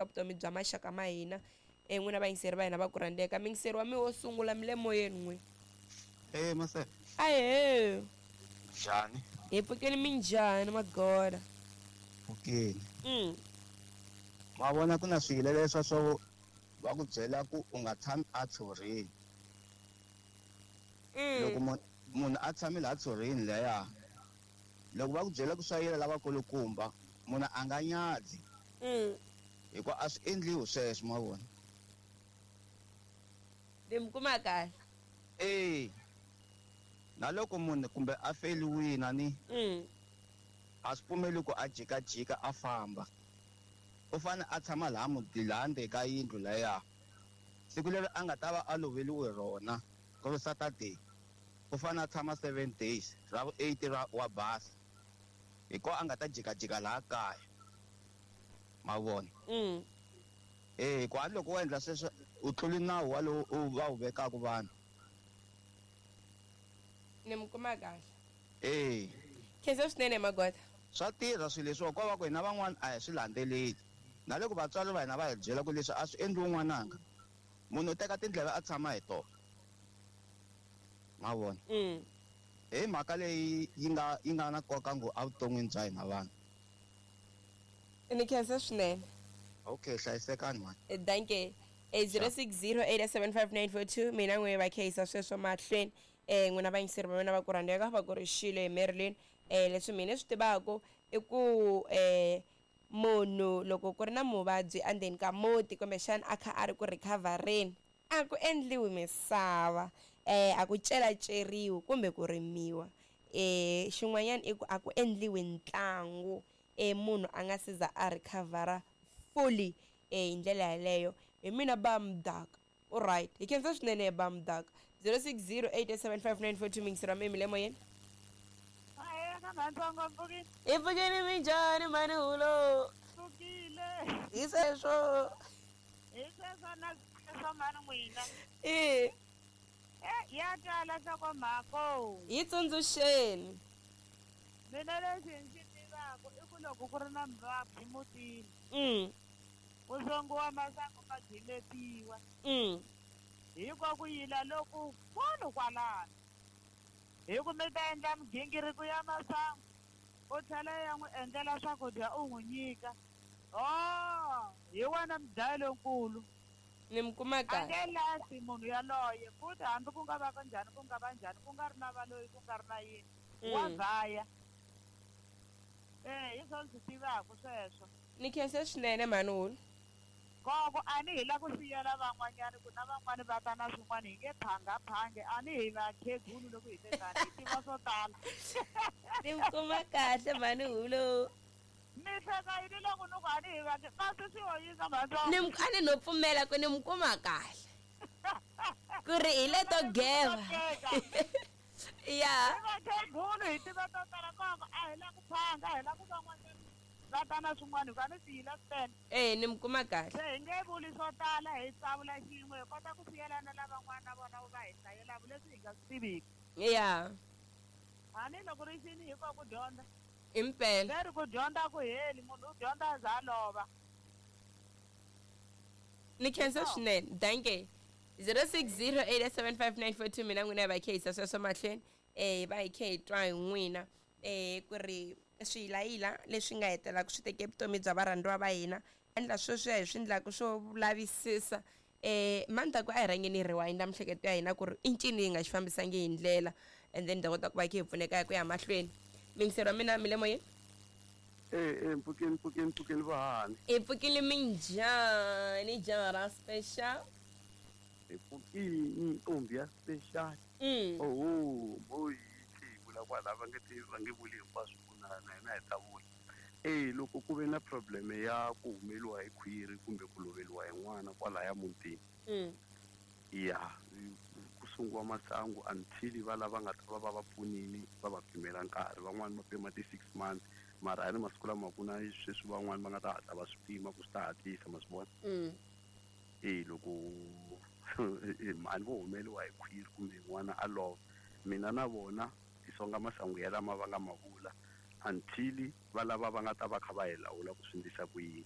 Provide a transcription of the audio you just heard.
Vutomi bya maxaka ma hina n'wina vayingiseri va hina va ku rhandzeka. Muyingiseri wa mi wo sungula mi le moyeni n'we. Hey mase. Ahee. Njhani? Hi pfukile, minjhani magoda? Pfukile. Ma vona ku na swilo leswa swo va ku byela ku u nga tshami a tshorini. Loko munhu a tshame laha tshorini laya, loko va ku byela ku swa yela lavakulukumba, munhu a nga nyadzi. Hikuva a swi endliwi sweswo, ma vona. Ni mi kuma kahle. Eh. Na loko munhu kumbe a feliwile ni a swi pfumeli ku a jikajika a famba. U fanele a tshama laha muti laha ndzeni ka yindlu laya. Siku leri a nga ta va a loveriwe rona, ku ri Saturday, u fanele a tshama 7 days, ra vu 8 ra wa basa. Hi kona a nga ta jikajika laha kaya. Ma vona? Eh, ku a loko wo endla sweswo u tluli nawu walowo u va wu vekaka vanhu. Ni mi kuma kahle. Eh. Khensa swinene magoda. Swa tirha swilo leswiwa, ko va ku hina van'wana a hi swi landzeleli. Na loko vatswari va hina va hi byela ku leswi a swi endliwi n'wananga, munhu u teka tindleve a tshama hi tona. Ma vona? Hi mhaka leyi yi nga na nkoka ngopfu evuton'wini bya hina vanhu. Ni khensa swinene. Okay, hlayisekani mhani. Danke. 06087594 2 mina n'we va kheyisa sweswo mahlweni. N'wina vayingiseri va mina va ku rhandzeka va ku ri xilo hi Marilyn. Leswi mina swi tivaka i ku munhu loko ku ri na muvabyi endzeni ka muti kumbexana a kha a ri ku recover-eni, a ku endliwi misava, a ku celaceriwi kumbe ku rimiwa. Xin'wanyana i ku a ku endliwi ntlangu munhu a nga se za a recover-a fully hi ndlela yaleyo. Hi mina ba mudaka. Alright, hi khensa swinene ba mudaka. 06087594 muyingiseri wa mina mi le moyeni. Hi pfukile, minjhani mhani hulo? Pfukile. Hi sweswo. Hi sweswo na sweswo mhani n'wina. Eh. Ya twala nhlokomhaka. Hi tsundzuxeni. Mina lexi ndzi tivaka i ku loko ku ri na muvabyi mutini. Ku songiwa masangu ma gimetiwa. Hikuva ku yila loku kulu kwalano. Hi ku mi ta endla migingiriko ya masangu, u tlhela ya n'wi endlela swakudya u n'wi nyika. Oh, hi wena mudlayi lonkulu. Ni mi kuma A kahle. nge lahli munhu yaloye, futhi hambi ku nga va ka njhani, ku nga va njhani, ku nga ri na valoyi, ku nga ri na yini, wa vhaya. Hi swona swi tivaka sweswo. Ni khensa swinene mhani Hulu. Koko a ni hi la ku siyela van'wanyana ku na van'wani va ta na swin'wana, hi nge phangaphangi, a ni hi vakhegulu loko hi te tani, hi tiva swo tala. Ni mi kuma kahle mhani Hulu. Mi hleka yini loko ni ku a ni hi kasi swi hoyisa mhani swa- Ni a ni no pfumela ku ni mi kuma kahle. Ku ri hi leto geva. Ya. Hi vakhegulu hi tiva to tala, koko a hi la ku phanga, a hi la ku van'wanyana va ta na swin'wana, hikuva ni swi yila swinene. Ni mi kuma kahle. Se hi nge vuli swo tala, hi tsavula xin'we, hi kota ku siyelana lavan'wana na vona va hi hlayelaka leswi hi nga swi tiviki. Ya. Hambi loko ri xini hi ko ku dyondza. Impela. Leri ku dyondza ku heli, munhu u dyondza a za a lova. Ni khensa swinene. Danke. 06087594 mina n'wina hi va kheyisa sweswo mahlweni. Hi va hi khe hi twa hi n'wina. Ku ri swiyilayila leswi nga hetelaka swi teke vutomi bya varhandziwa va hina, endla sweswiya hi swi endlaka swo lavisisa. Mandzhaku a hi rhangeni hi rewind miehleketo ya hina ku ri i ncini yi nga xi fambisangi hi ndlela, and then hi ta kota ku va hi kha hi pfuneka ku ya mahlweni. Muyingiseri wa mina mi le moyeni? Mpfukeni, mpfukeni, mpfukeni vahani. Hi pfukile minjhani, jaha ra special? Hi pfukile ntombi ya special. Oho, mo hi vula kwala va nge ti, va nge vuli hinkwaswo ku na hina hi ta vula. Loko ku ve na problem ya ku humeliwa hi khwiri kumbe ku loveriwa hi n'wana kwalaya mutini. Ya, ku sungiwa masangu until va lava nga ta va va va pfunile, va va pimela nkarhi. Van'wani va pima ti 6 months, mara a ni masiku lama ku na sweswi van'wani va nga ta hatla va swi pima ku swi ta hatlisa, ma swi vona? Loko mhani vo humeliwa hi khwiri kumbe n'wana a lova, mina na vona hi songa masangu ya lama va nga ma vula until va lava va nga ta va kha va hi lawula ku swi endlisa ku yini.